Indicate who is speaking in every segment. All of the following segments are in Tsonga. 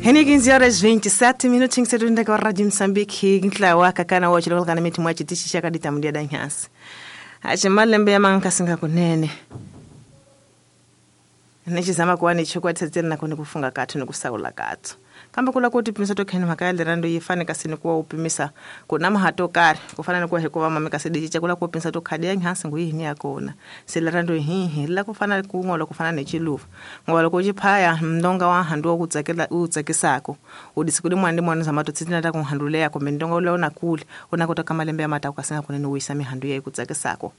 Speaker 1: Hene 15 horas 27 minutinhos sedunda kwa Radio Mozambique ntlawa kakana wa chiloko kana miti mwa chitishi chakadita mundia danhasi. Ache malembe ya mankasinga kunene. Nechizama kuwa nechokwati nako nekufunga kathu nekusaula kathu. Kambe kula kuti pimisa tokheni mhaka ya lerando yi fane kasi nikuwa upimisa kuna mahato karhi ku fana nikuwa hikuva mame kasi dichicha kula ku pimisa to khadi ya nhansi ngu yini ya kona se lerando hihi la ku fana kun'we loko fana nechiluva ngoba loko u chiphaya ndonga wa handu wa ku tsakela u tsakisako u disiku limwana limwana zama to tsitina ta ku handu leya kumbe ndonga ule una kule una kota ka malembe ya mata ku kasi nga kunene u yisa mihandu ya ku tsakisako.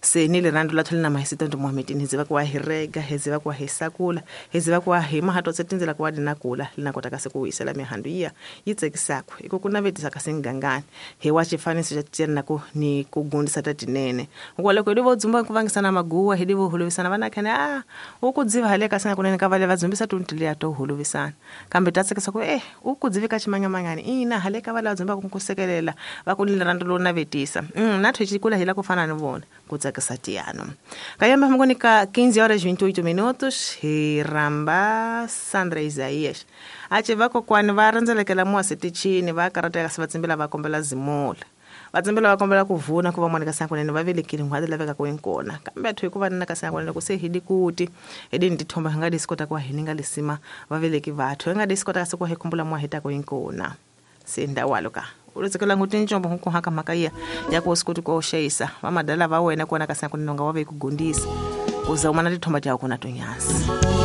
Speaker 1: Se ni lerando la thole na mahisito ndo Mohamed ni ziva kwa hirega heziva kwa hisakula heziva kwa hima hato tsetinzela kwa dinakula linakota kasi kuwisela mihandu iya yitsekisako iko kuna vetisa kasi ngangani he wa chifaniso cha tena ku ni kugundisa tatinene ngwa loko idivo dzumba kuvangisana maguwa hidivo huluvisana vana khane ukudziva hale kasi nga kunene ka vale vadzumbisa tuntilia to huluvisana kambe tatsekisa ku ukudzivika chimanyamanyani ina hale ka vale vadzumba ku kusekelela va ku ni lerando lo navetisa na thechikula hila ku fana ni vona kutsakisatiano. Kayamba mngoni ka 15 horas 28 minutos hiramba Sandra Isaías. Ache vako kwani va randzelekela muasi tichini va karateka se vatsimbela va kombela zimula. Vatsimbela va kombela ku vuna ku va mwana ka sankunene va velekile n'hwati laveka ku inkona. Kambe athu hikuva nina ka sankunene ku se hidi kuti hidi ndithomba nga disikota kwa hini nga lisima va veleki vathu nga disikota se ku hikumbula mwa hita ku inkona. Se ndawalo ka ulitsekela ngutinjombo nkuhaka mhaka ya ya ku sikuti ko shayisa vamadala va wena kona ka sankunene nga wa ve ku gundisa uza umana tithomba ta kona tonyasi.